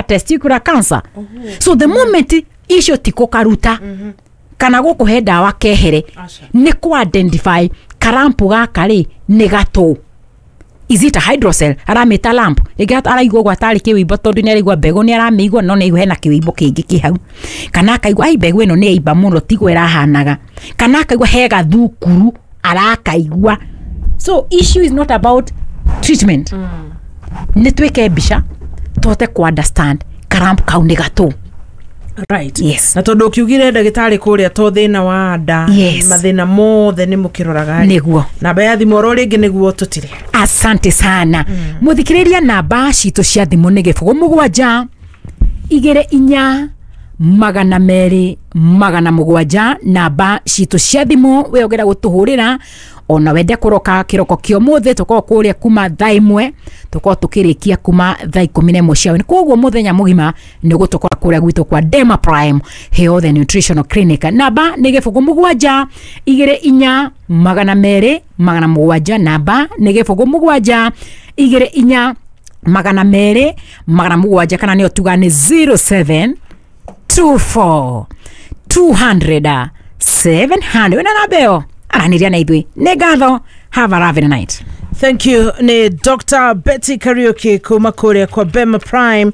testicular cancer. So the moment icio ti kũkaruta kana gũkũhe ndawa kehere, nĩ kũ identify karampu gaka rĩ nĩ gatũ. Is it a hydrocele? Aramĩta lamp. Rĩngĩ araigua ũguo atarĩ kĩwĩimbo tondũ nĩ araigua mbegũ nĩ aramĩigua no nĩ aigua hena kĩwĩimbo kĩngĩ kĩ hau. Kana akaigua ai mbegũ ĩno nĩ yaimba mũno tiguo ĩrahanaga. Kana akaigua he gathukuru arakaigua. So issue is not about treatment. Nĩ twĩke mbica tũhote ku understand karamp kau nĩ gatũ. Right. Yes. Na tondu ukiugire ndagĩtarĩ kũrĩa to thĩna wa nda, Yes. mathĩna mothe nĩ mũkĩroraga rĩ. Nĩguo. Namba ya thimũ oro rĩngĩ nĩguo tũtire. Asante sana. Muthikiriria, namba citũ cia thimũ nĩ 0 7 2 4 200 700. Namba citũ cia thimũ we ũngĩenda gũtũhũrĩra ona wende kũroka kĩroko kĩa ũmũthĩ, tũkorwo kũrĩa kuma thaa 1, tũkorwo tũkĩrĩkia kuma thaa 11 cia hwaĩ. Koguo mũthenya mũgima nĩ ũgũtũkora kũrĩa gwitũ kwa Dema Prime Health and Nutritional Clinic. Namba nĩ 0 7 2 4 200 700. Namba nĩ 0 7 2 4 200 700, kana nĩyo tuga nĩ 07 24 200 700. Wĩna namba ĩyo aranĩria na ithuĩ. Nĩ ngatho, have a lovely night. Thank you. Ni Dr. Betty Kariuki kuma kuria kwa Bema Prime,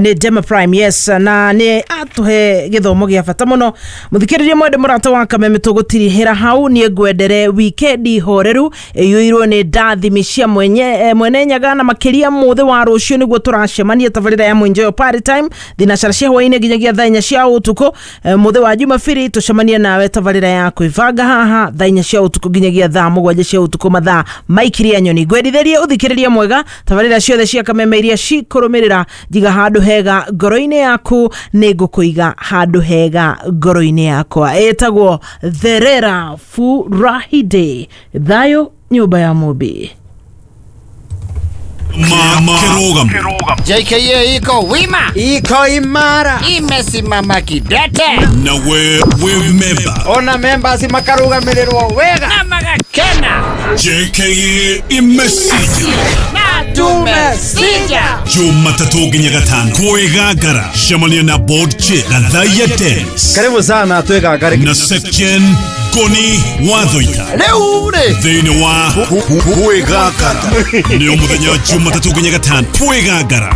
ni Dema Prime, yes, na ni atuhe githomo gia bata muno. Muthikiriria mwende murata wa Kameme, tugutirihira hau. Nie ngwendere wikendi horeru iyuirwo ni ndathimi cia mwenye, mwene Nyaga, na makiria muthi wa rucio niguo turacemania tabarira ya Mwenjoyo Party Time thinacara cia hwaini nginyagia thaa 4 cia utuku. Muthi wa Jumapili tucemanie nawe tabarira ya kwibanga haha thaa 4 cia utuku nginyagia thaa 7 cia utuku, mathaa maikiria nyoni. Ngwendithĩrie ũthikĩrĩrie mwega tabarĩra ciothe cia Kameme iria cikũrũmĩrĩra. Njiga handũ hega ngoro-inĩ yaku, nĩ ngũkũiga handũ hega ngoro-inĩ yakwa. Ĩtagwo Therera Furahide. Thayũ nyũmba ya Mũmbi. Kirugam. JKA iko wima, iko imara, imesimama kidete, Na we member. Ona members makarugamirĩrwo wega na magakena. JKA imesija. Na tumesija. Jumatatu nginya Gatano kwĩgangara, cemania na board chair Gathaiya Dennis Karibu sana twĩgangare. Na Section Ngoni Wathoita Rĩu rĩ thĩinĩ wa kwĩgangara. Nĩ mũthenya wa Jumatatu nginya Gatano kwĩgangara.